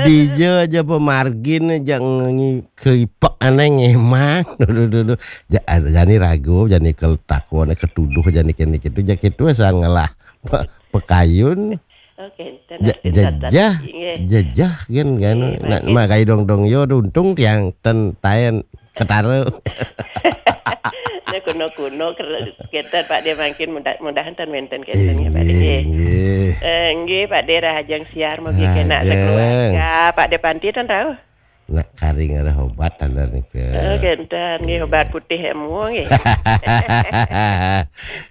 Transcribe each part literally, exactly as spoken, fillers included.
Dija aja pemargin aja ngi-, keipek aneh ngemang. Duh, duh, duh, duh. Ja-, jani ragu, jani kel-, takon, ketuduh, jani kene kitu, ja kitu asal ngelah pe-, pekayun. Oke, ten Ja-, artin jajah, sartasi, nggih. Jajah kan, kan. Nggih, nak, mangkin. Mak kai dong-dong yo untung tiang ten taen ketara. Nah, kuno-kuno ker-, kenten Pak De mangkin mudah-, mudahan ten wenten kenten ya Pak De, nggih, nggih. Nggih. Eh, nggih, Pak De rahajeng siar mugi kena Rahajeng. Sekeluarga. Pak De Panti ten tahu? Nak kari ngarah obat taler nika. Oh, kenten nggih, obat putih emu nggih.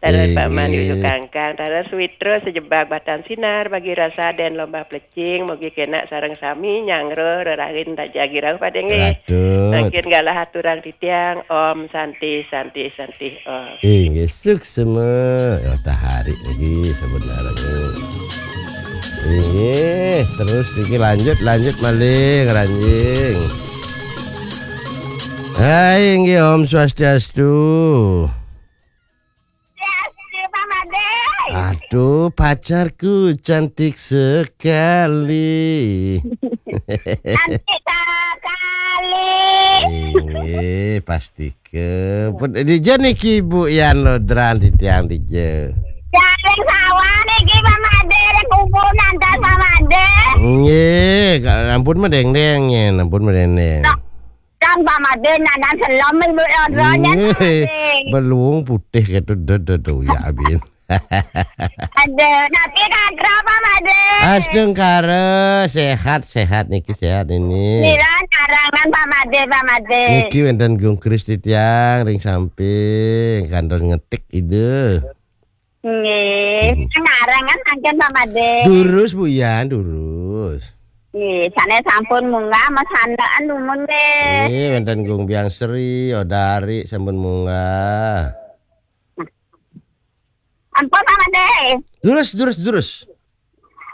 Taler Pak Man Yuyu Inggih. Kangkang, taler Suwitra sejebak batan sinar bagi rasa den lomba plecing, mugi kena sareng sami nyangro rerahin tajagi rauh Pak De nggih. Patut. Mangkin galah aturang titiang, Om Santi, Santi, Santi, Om. Inggih, suksma. Ya, dah hari lagi sebenarnya. Inggih, terus niki lanjut, lanjut malih, ranjing. Hai, inggih, Om Swastiastu. Ya, Pak Made. Aduh, pacarku cantik sekali. Cantik sekali. Inggih, pasti ke. Pun dija niki Bu Yan Lodran titiang dija. Jaring sawah niki Pak Made, ring kubu nantan Pak Made. Nggih, ka-, ampun medeng-deng nyen, ampun medeng-deng. Nah, kan Pak Made nantan selem Ibu Lodran nyen, Pak Made. Nggih, belung putih gitu, do, do, do, ya, abin. Aduh, napi kathah Pak Made? Astungkara, sehat, sehat niki, sehat ini. Mila nyarengan Pak Made, Pak Made. Niki wenten Gung Kris titiang ring samping, kantos ngetik ide. Nggih, Hmm. Nyarengan mangkin Pak Made. Durus, Bu Yan, durus. Nggih, sane sampun munggah, masandekan dumun nggih. Nggih, wenten Gung Biang Sri, Odari sampun munggah. Ampun, Pak Made. Durus, durus, durus.